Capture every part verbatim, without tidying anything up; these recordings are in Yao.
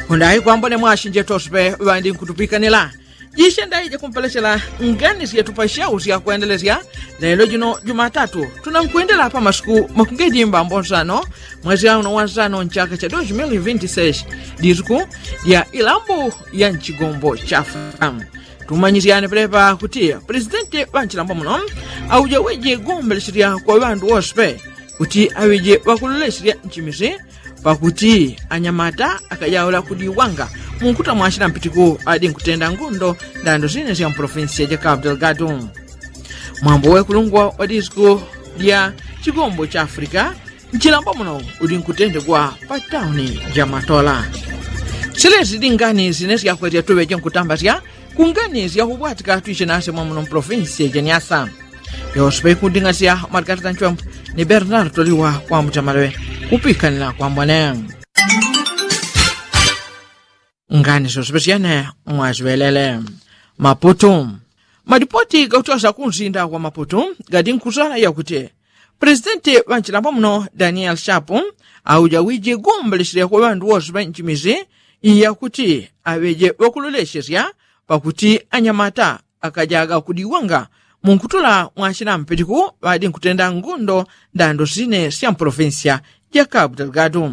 Kundayi kwambone mwashinje toswe ŵandi nkutupikanila jishe ndayi jakumpelechela ngani syetu pashau syakwendelesya. Lelo jino jumatatu tunankwendela pamasiku makungedimba mbonsano mwezi auno wansano nchaka cha dos mil vinti seis, disiku lya ilambu ya nchigombo cha afrika. Tumanyisyane pelepa kuti presidenti ŵa nchilambo muno auja wiji gombelesya kwa ŵandu wose kuti aŵiji ŵakululesya nchimisi pakuti anyamata akajaula kudiwanga munkuta mwashila mpitiku adi nkutenda ngundo ndando sine sya mpolofinsiya ja kapu delgado. Mwambo wekulungwa wa disiku lya chigombo cha afrika nchilambo muno udi nkutendegwa pa tauni ja matola. Silesi dingani sine syakwetya tuŵeje nkutambasya kungani syakubwatika twishe nase mwamuno mpolofinsiya ja nyasa. Yose paikunding'asya mwatikati tanchwembo ni bernardo liwa kwambuta maleŵe kupikanila kwambone. Ngani syose pesyene mwasiŵelele. Maputu. Madipoti gakutyosya kunsinda wa maputu gadi nkusala yakuti presidenti ŵa nchilambo muno daniel shapu auja wiji gombelesya kwa ŵandu wose ŵa nchimisi yakuti aŵeje ŵakulolesesya pakuti anyamata akajaga kudiwanga munkutula mwachina mpitiku ŵadi nkutenda ngundo ndando sine sya mpolofinsiya ja kapu delgado.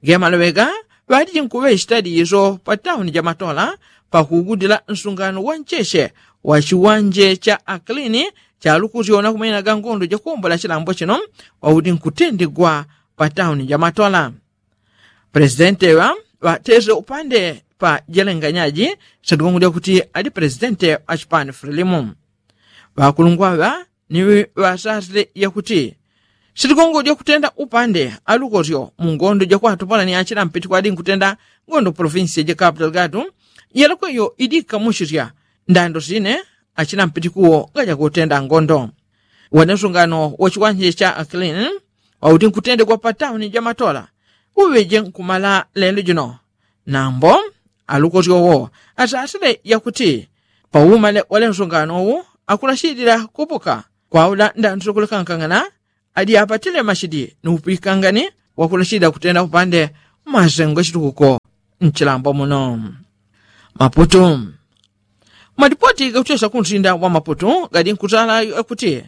Gemaloŵega ŵadi jinkuŵechita diso pa tauni ja matola pakugudila nsungano wa ncheche wa chiwanje cha aklini cha lukusyo na kumenaga ngundo jakuombola chilambo chino ŵaudi nkutendegwa pa tauni ja matola. Presidente ŵa ŵatese upande pa jelenganyaji sadigongo lyakuti ali presidente achipani frilimu. Ŵakulungwa ŵa ni ŵasasile yakuti sadigongo lyakutenda upande alukosyo mu ngondo jakwatupala ni achila mpiti kwadi nkutenda ngondo polofinsiya ja kapu delgado yalakweyo idikamusisya ndando sine achila mpiti kuwo ngajakutenda ngondo. Wene nsungano wachiwanje cha aklini wauti nkutendegwa pa tauni ja matola uŵeje nkumala lelo jino. Nambo alukosyo wo asasile yakuti paumale wale nsungano wu akulashidila kupuka kwaula ndando syokulekankangana adi apatile mashidi ni upikangani wakulashidila kutenda upande mwasengo chitukuko nchilambo muno. Maputu. Madipoti gakutyosya kunsinda wa maputu gadi nkutala yakuti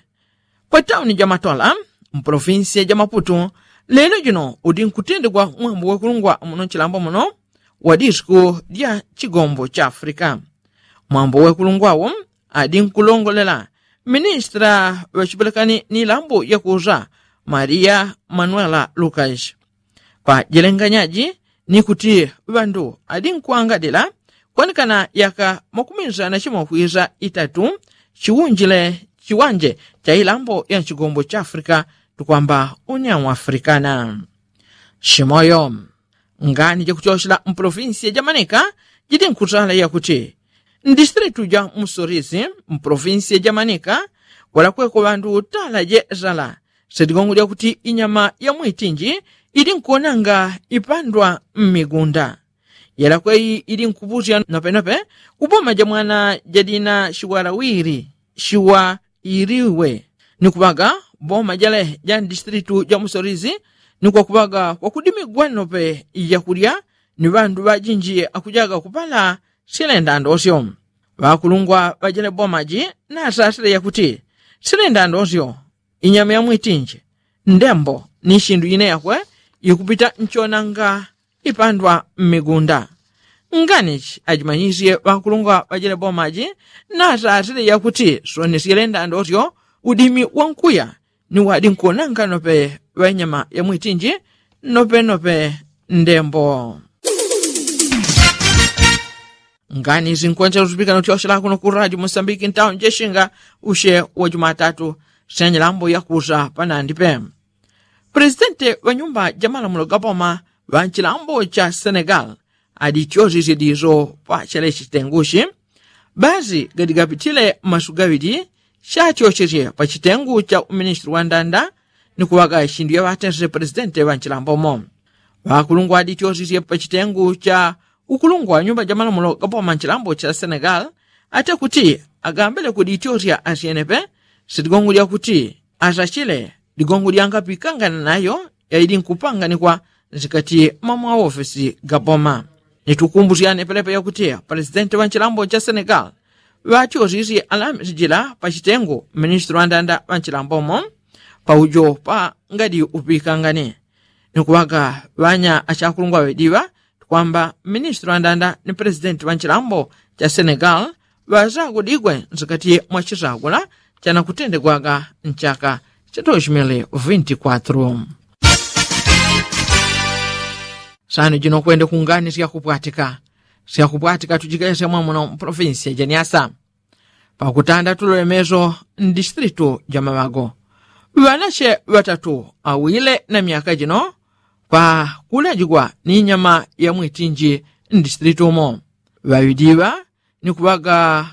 pa tauni ja matola mpolofinsiya ja maputu lelo jino udi nkutendegwa mwambo wekulungwa muno nchilambo muno wa disiku lya chigombo cha afrika. Mwambo wekulungwawo adi nkulongolela ministra ŵachipelekani ni lambo yakusa maria manuela lukas. Pa jelenganyaji ni kuti ŵandu adi nkwangadila kwanekana yaka makumisana chimwe kwisa itatu chiwunjile chiwanje cha ilambo ya nchigombo cha afrika tukwamba unyau afrikana. Shimoyo. Ngani jakutyosela mpolofinsiya ja manika jidi nkusala yakuti mdistritu ja musorisi mpolofinsiya ja manika walakweko ŵandu tala jesala sedigongo lyakuti inyama ya mwitinji ili nkuonanga ipandwa mmigunda. Yelakweyi ili nkupusya nopenope kuboma ja mwana jadina shiwalawiri shiwa iliwe ni kuŵaga boma jale ja mdistritu ja musorizi ni kwakuŵaga kwakudimigwa nope yakulya ni ŵandu ŵajinji akujaga kupala silenda ndosyo. Ŵakulungwa ŵajele boma ji nasasile yakuti silenda ndosyo inyama ya mwitinji ndembo ni shindu ine yakwe ikupita nchonanga ipandwa mmigunda. Nganichi ajimanyisye ŵakulungwa ŵajele boma ji nasasile yakuti sonesyele ndandosyo udimi wankuya ni wadi nkuonanga nope ŵanyama ya mwitinji nope nope ndembo. Ngani isi nkwensela utupikana utyoshela kuno ku radio mosambiki ntauni jeshinga ushe wa jumatatu senyelambo yakusa panandi pe. Presidente ŵa nyumba ja malamulo ga boma ŵa nchilambo cha senegal adityosisye diso pa chale chitenguchi. Basi gadigapitile masu gaŵili chatyochesye pa chitengu cha uministri wa ndanda ni kuŵaga chindu yaŵatensesye presidente ŵa nchilambo mo. Ŵakulungwa adityosisye pa chitengu cha ukulungwa nyumba ja malamulo ga boma nchilambo cha senegal ate kuti agambile kudityosya asyenepe sitigongo lyakuti asachile ligongo lyangapikangana nayo yaili nkupanganikwa nsikati mwa mwaofesi ga boma. Nitukumbusyane pelepe yakuti palesitenti ŵa nchilambo cha senegali ŵatyosisye alamisi jila pa chitengo mministili wa ndanda ŵa nchilambomo paujo pa ngadi uŵikangane. Nikuŵaga ŵanya achakulungwa ŵediŵa tukwamba mministili wa ndanda ni palesitenti ŵa nchilambo cha senegali ŵasagudigwe nsikati mwa chisagula chanakutendegwaga nchaka cha dosi mili vinti kwatru. Sano jino kwende kungani syakupwatika syakupwatika tujikesya mwamuno mpolofinsi ya janiasa. Pakutanda tulolemeso ndisitilitu ja maŵago ŵanache ŵatatu awile na myaka jino pakulajigwa ni nyama ya mwitinji ndisitilitu umo. Ŵaŵidiŵa ni kuŵaga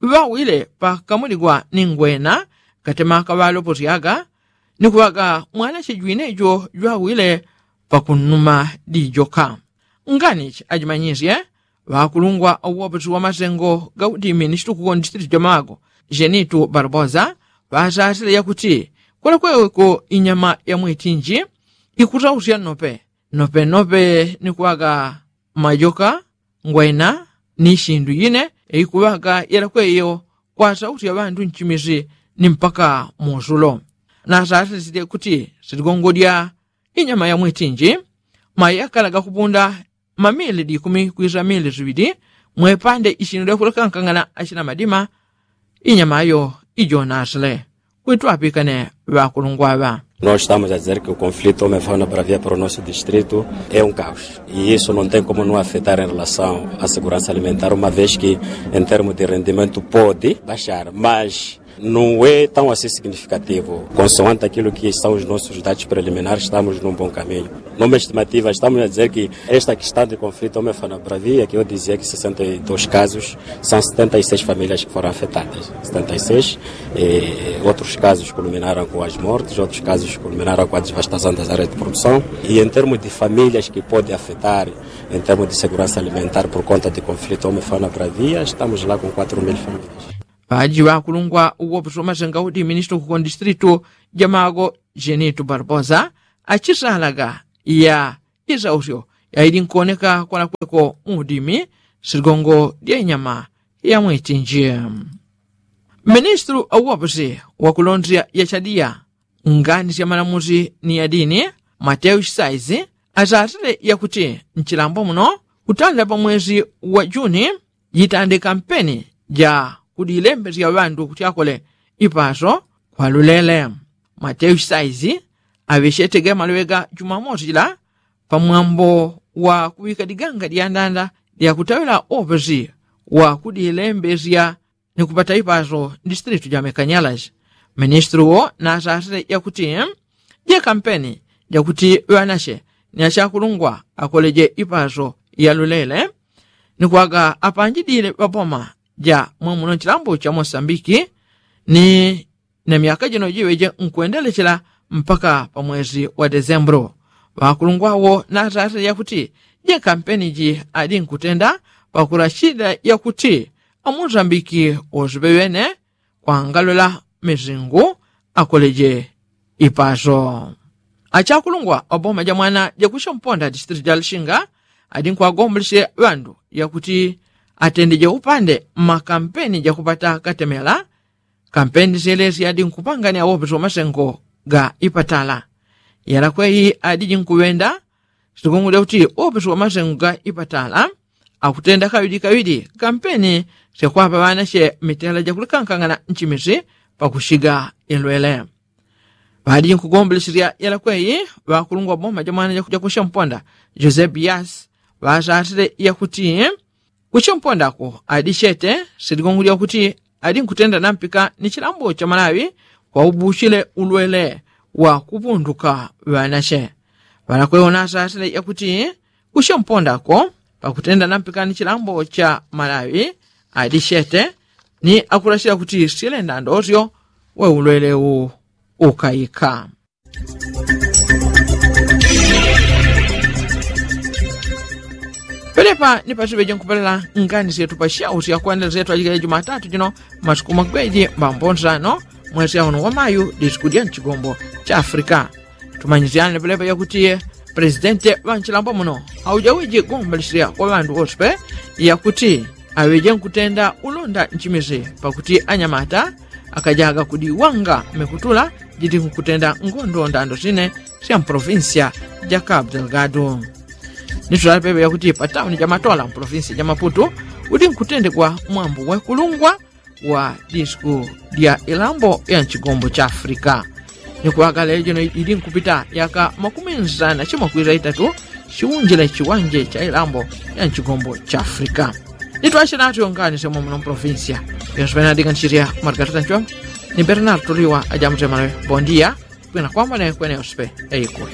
ŵawile pakamuligwa ni ngwena katema kaŵaloposyaga ni kuŵaga mwanache jwine jo jwawile pakunnuma dijoka. Nganichi ajimanyisye ŵakulungwa auwoposi wa masengo gaudimi ni chitukuko ndisitilitu ja mawago jenitu barbosa ŵasasile yakuti kwelekweko inyama ya mwitinji ikusausya nnope nnope nnope ni kuŵaga majoka ngwena ni sindu yine ikuŵaga yelakweyo kwasausya ŵandu nchimisi ni mpaka musulo. Nasasisye kuti siligongodya inyama ya mwitinji mayakala gakupunda mamili dikumi kwisa mili siŵili mwepande isindu lyakulekankangana achina madima inyama yo ijonasile. Kwitwapikane ŵakulungwa ŵa. Nós estamos a dizer que o conflito homem fana bravia para o nosso distrito é um caos e isso não tem como não afetar em relação à segurança alimentar uma vez que em termos de rendimento pode baixar mas não é tão assim significativo. Consoante aquilo que são os nossos dados preliminares estamos num bom caminho. Numa estimativa estamos a dizer que esta questão de conflito homem fana bravia que eu dizia que sessenta e dois casos são setenta e seis famílias que foram afetadas. Setenta e seis outros casos culminaram com as mortes outros casos culminaram com a devastação das áreas de produção e em termos de famílias que pode afetar em termos de segurança alimentar por conta de conflito homem fana bravia estamos lá com quatro mil famílias. Ŵaji ŵakulungwa uwoposi wa masenga udi ministili kuko ndisitilitu ja mawago jenitu barbosa achisalaga ya isausyo yaidi nkuoneka kwalakweko muudimi siligongo lya inyama ya mwitinji. Ministili auwoposi wakulondesya yachadiya ngani sya malamusi ni yadini mateo chisaizi asasile yakuti nchilambo muno kutanda pa mwesi wa juni jitande kampeni ja kudilembesya ŵandu kuti akole ipaso kwa lulele. Mateo chisaizi aŵechete ge maloŵe ga jumamosi jila pamwambo wa kuŵika diganga dyandanda lyakutaŵila opesi wa kudilembesya ni kupata ipaso ndisitilitu ja mekanyalaji. Ministili wo nasasile yakuti je kampeni jakuti ŵanache ni achakulungwa akoleje ipaso ya lulele ni kwaga apanjidile ŵaboma ja mwamuno nchilambo cha mosambiki ni na myaka jino jiŵeje nkwendelechela mpaka pa mwesi wa desembulu. Ŵakulungwa wo nasasile yakuti je kampeni ji adi nkutenda pakulachila yakuti amosambiki wosiŵe ŵene kwangalola misingu akoleje ipaso. Achakulungwa ŵaboma ja mwana jakusya mponda disitiliti ja lishinga adi nkwagombolesye ŵandu yakuti atendeje upande mmakampeni jakupata katemela. Kampeni syelesye adi nkupangania wopesi wa masengo ga ipatala yalakweyi adi jinkuŵenda. Sitigongo lyakuti wopesi wa masengo ga ipatala akutenda kaŵili kaŵili kampeni syakwapa ŵanache mitela jakulikankangana nchimisi pakushiga ilwele. Ŵadi jinkugombolesya yalakweyi ŵakulungwa boma ja mwana jakusya mponda jose bias ŵasasile yakuti kusya mponda ako adi chete siligongo lyakuti adi nkutenda nampika ni chilambo cha malawi kwaubuchile ulwele wa kupunduka ŵanache. Ŵalakweyi ŵanasasile yakuti kusya mponda ako pakutenda nampika ni chilambo cha malawi adi chete ni akulachila kuti silenda ndosyo we ulwele u ukaika. Pelepa ni pasiŵeje nkupelela ngani syetu pa syau sya kwendela syetu ajikele jumatatu jino masiku magweji mbambo nsano mwesi auno wa mayu disiku dya nchigombo cha afrika. Tumanyisyane pelepa yakuti Presidente ŵa nchilambo muno auja wiji gombalishilya kwa ŵandu wose pe yakuti aŵeje nkutenda ulonda nchimizi pakuti anyamata akajaga kudiwanga mekutula jidi nkutenda ngondo ndando sine sya mpolofinsiya ja kabu delgado. Nitulale pepe yakuti patauni ja matola mpolofinsiya ja maputu udi nkutendegwa mwambu wekulungwa wa disku dya ilambo ya nchigombo cha afrika. Ni kuwagala yajino ili nkupita yaka makumi nsana chimwe kwiza itatu chiunjile chiwanje cha ilambo ya nchigombo cha afrika. Nitwashe natu yongani semwe muno mpolofinsiya yonse penadika nchirya margarita nchonga ni bernard tuliwa ajamutemanawe bondiya. Kwina kwambone kwene yonse pe eikulu.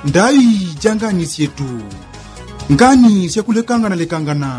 Ndaŵi ja ngani syetu. Ngani syakulekangana lekangana.